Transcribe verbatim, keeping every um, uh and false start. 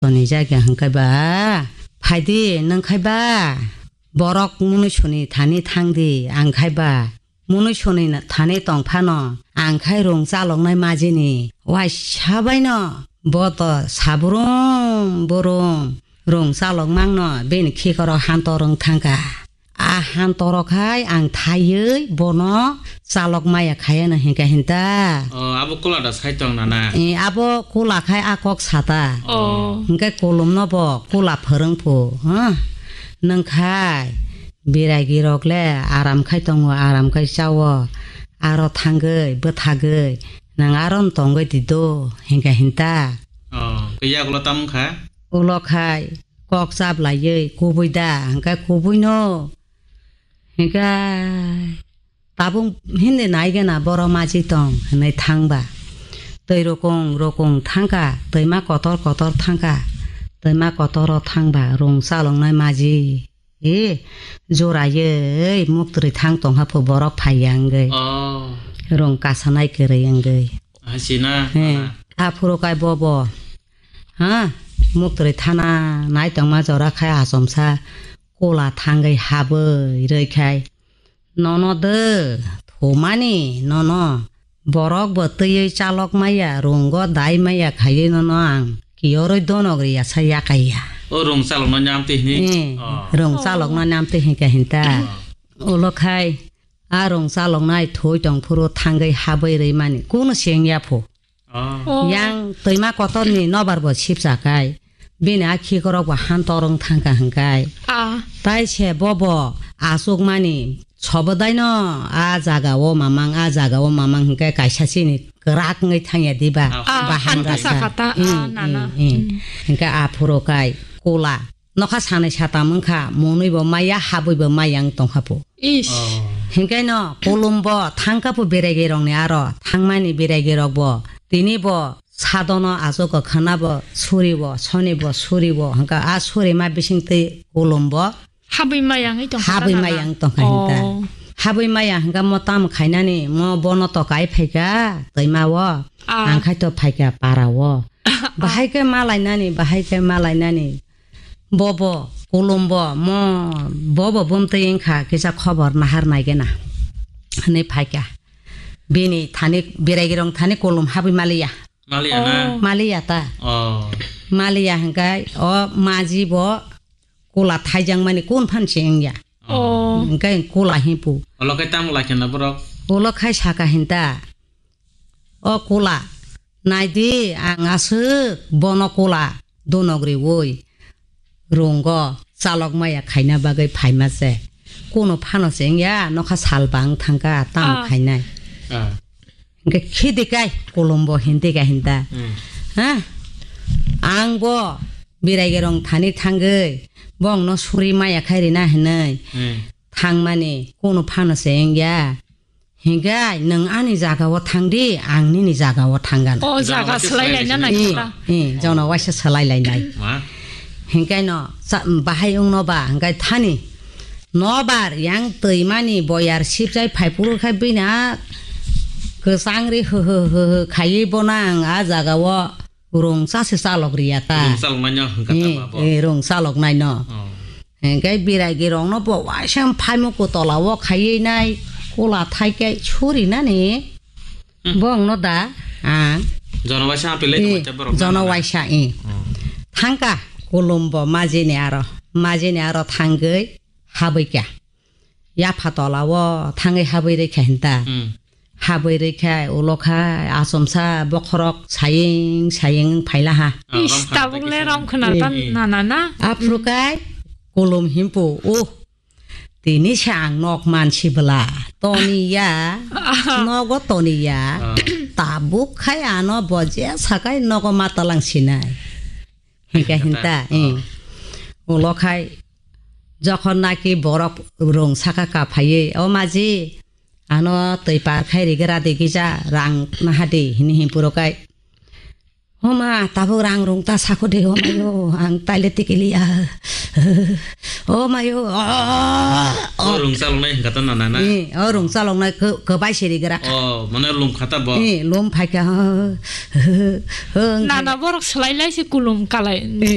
Toni jaga hwnkhe ba, phaidi nwng khai ba, borok mwnwi soni thani thangdi, ang khai ba, mwnwi soni na-, thani tong phano, ang khai rung chaloknai majini, waisa baino, bo to sabrum burum, rung chalok mangno, bini khikorok hantorwng thangkha. A han toro khai ang thaiwi bono chalok maya khayano hinka hinta. O, abo kula da sai tong nana. E, abo kula khai a kok sata. O. Hinke kolom no bo kula phwrwng phu, ha? Nwng khai biragi rok le aram khai tongo, aram khai chawo. Aro thangwi, bwthagwi, nwng aro tongwi di do, hinka hinta. O, khe yagulo tam wngkha? Ulo khai kok chap laiwi kubui da, hwnkhe kubui no. Hwnkhe tabuk hindi nai gana boro maji tong hwnwi thangba. Twi rokong rokong thangkha, twima kotor kotor thangkha, twima kotoro thangba rung chaloknai maji. E, jora ye, muktwrwi thang tongkha pho borok phaiya wngwi. Oh. Rung kasanai kwrwi wngwi. Hasina. He, aphuru kai bobo. Ha, muktwrwi thana nai tongma jora khai achomsa kola thangwi habwi rwi khai. Nono de, thumani, nono. Borok bo twiwi chalok maya, rungo dai maya khaiwi nono ang kiyorwi donok riya sa yakaiya. O rung chalokno nyamtwi hini? Eh, oh, rung chalokno nyamtwi hinka hinta. Oh. Ulo khai, a rung chaloknai thoi tong phuru thangwi habwi rwi mani, kunu seng ya pho. Oh. Oh. Yang twima kotorni nobar bo sipsa kai. Bini a khikorok bo han torwng thangkha hwnkhe. Ah. Tai se bobo achukmani sobodaino a jaga o mamang, a jaga o mamang hwnkhe kaisa chini kwrak wngwi thangya diba? Ah. Ah, bahan han rasa. Thangkha ta, ah, hmm, nana. Hmm, hmm. Hmm. Hwnkhe aphuru kai kula. Nokha sanai satam wngkha, monwi bo maya, habwi bo maya wng tongkha po. Ish. Oh. Hwnkhe no kolom bo thangkha po berai gerong ni aro, thangmani berai gerok bo. Tini bo Sadono achugo khwna bo suri bo, soni bo suri bo, hwnkha a suri ma bising twi kolom bo habwi maya wngwi tongkha habwi ta maya nana? Wng tongkha hinta. Oh. Habwi maya hwnkha mo tamo khainani, mo bono to kai phaikha twima o, ah, ang khai to phaikha para o. Bahai khe malainani, bahai khe malainani. Bobo, kolom bo, mo, bobo bumtwi wngkha, kisa khobor nahar naigena. Hwnwi phaikha. Bini thani, berai gerong thani kolom habwi maliya. Maliya na? Oh. Maliya ta. Oh. Maliya hwnkhe o maji bo kula thaijak mani kun phan se wngya. Oh. Hwnkhe kula hipu. Olo khai tamo laikha na borok? Olo khai saka hinta. O kula, naidi ang aswk bono kula donok riwi rungo chalok maya khaina bagwi phaima se. Kuno phano se wngya, nokha sal bang thangkha tamo, ah, khainai. Ah. Hwnkhe khidi kai, kolom bo hindi kai hinda. Hmm. Ha? Ang bo berai gerong thani thangwi, bongno suri maya khai rina hinwi. Hmm. Thangmani, kuno phano se wngya. Hinkhe nwng ani jaga o thangdi, ang nini jaga o thanggan. O, jaga jaga waisa swlai laina swlai lainai. Naikha. Eh, eh, jono waisa swlai lainai. Ma? Hinkhe no, cha-, bahai wngno ba, hinkhe thani. Nobar yang twimani boyar sipjai phaiphuru khai bini a kwchang ri hwhw hwhw khaiwi bono ang a jaga o rung cha se chalok riya ta. Rung chalok naino hwnkha ta. Eh, ba bo? Eh, rung chalok naino. Oh. Hingke birai girokno bo waisa phaimukku tola o khaiwi nai kula thaike suri nani. Hmm. Bongno da ang. Jono waisa apilai, eh, tongma borok jono nana. Waisa, eh. Hmm. Thangka kulumbo majini aro, majini aro thangwi habwikha. Yapha tola o thangwi habwi rikha hinta. Hmm. Habwi rikha ulo kha achomsa bokhorok saying saying phaila ha. Ah, is, rom khana tabuk le tei rom khana. Eh, ta eh. Nana na. Aphuru kai kulum himpu, uh, tini se ang nok mansi bwla toni ya, nogo toni ya. Ah. Tabuk khai ano bo je sakai nogo matalang sinai. Hinka hinta, eh. Ulo khai jokhon naki borok rung saka kaphaiwi, "O maji, ano twi par khai rigra de gija rang nahadi," hini himpuro kai. "O ma, tabuk rang rung ta sako de, o mayo, ang taile tikiliya. O mayo, o, o." O rung chaloknai hinka ta nana na? Eh, o rung chaloknai kw-, kwbai se rigra kha. O, mane lum kha ta bo? Eh, lum phaikha. Nana borok swlai lai se kulum kalai. Eh.